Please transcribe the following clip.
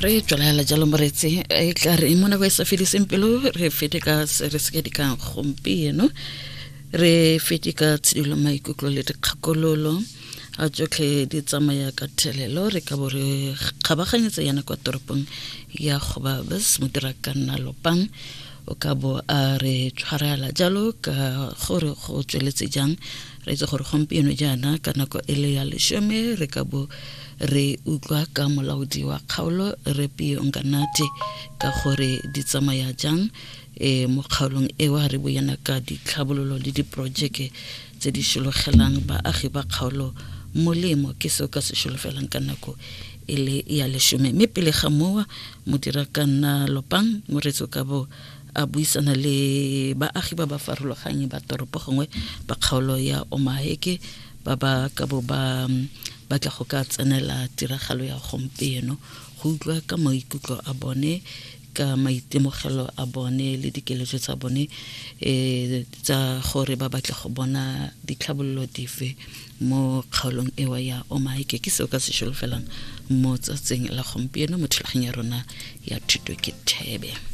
Re tswelela jalo moretsi, e tla re mo nako e sa fediseng pelo re fete ka se re seke dikang gompieno, re fete ka tshidilo maikutlo le dikgakololo. A tsotlhe di tsamaya ka thelelo, re ka bo re kgabaganyetsa yana kwa toropong ya Gobabis. Modira ka nna Lopang o ka bo a re tshwarela jalo ka gore go tsweletse jang. Re itse gore gompieno jaana ka nako e le ya 10 re ka bo re utlwa ka molaodi wa kgaolo re Pio Nkanate ka gore di tsamaya jang e mo kgaolong eo, re boyana ka ditlhabololo le diporojeke tse di šologelang baagi ba kgaolo molemo. Ke seo ka se šolofelang ka nako e le ya 10, mme pele ga mowa modira ka nna Lopang moretso ka bo a buisana le baagi ba ba farologanyeng ba toropo gongwe ba kgaolo ya Omaheke ba ba ka bo ba batla go ka tsenela tiragalo ya gompieno, go utlwa ka maikutlo a bone, ka maitemogelo a bone le dikeletso tsa bone tsa gore ba batla go bona ditlhabololo dife mo kgaolong ewa ya Omaheke. Ke seo ka se šolofelang mo tsatsing la gompieno mo thulaganyo ya rona ya Thuto ke Thebe.